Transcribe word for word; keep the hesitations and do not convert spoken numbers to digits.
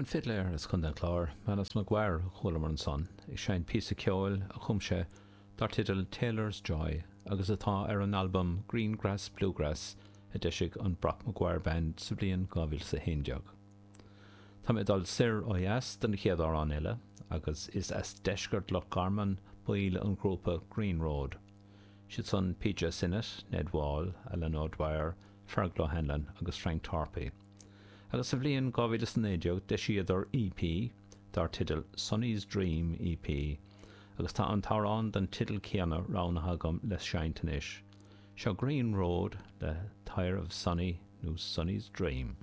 An fidléir as Contae an Chláir, Manus Maguire a chualamar ansan, ag seinnt píosa ceoil a chum sé dar teideal Taylor's Joy agus atá ar an albam Greengrass Bluegrass a d'eisigh an Brock Maguire Band sa bhliain dhá mhíle a haon déag. Tá mé ag dul soir ó dheas don chéad amhrán eile agus is as deisceart Loch Garman baill an ghrúpa Green Road. Siad san PJ Sinnott, Ned Wall, Alan O'Dwyer, Fergal O'Hanlon agus Frank Tarpey. Agus sa bhliain dhá mhíle is a naoi déag d'eisíodar EP dar teideal Sonny's Dream EP agus tá an t-amhrán den teideal céanna roghnaithe agam le seinnt anois. Seo Green Road le Tire of Sonny nó Sonny's Dream.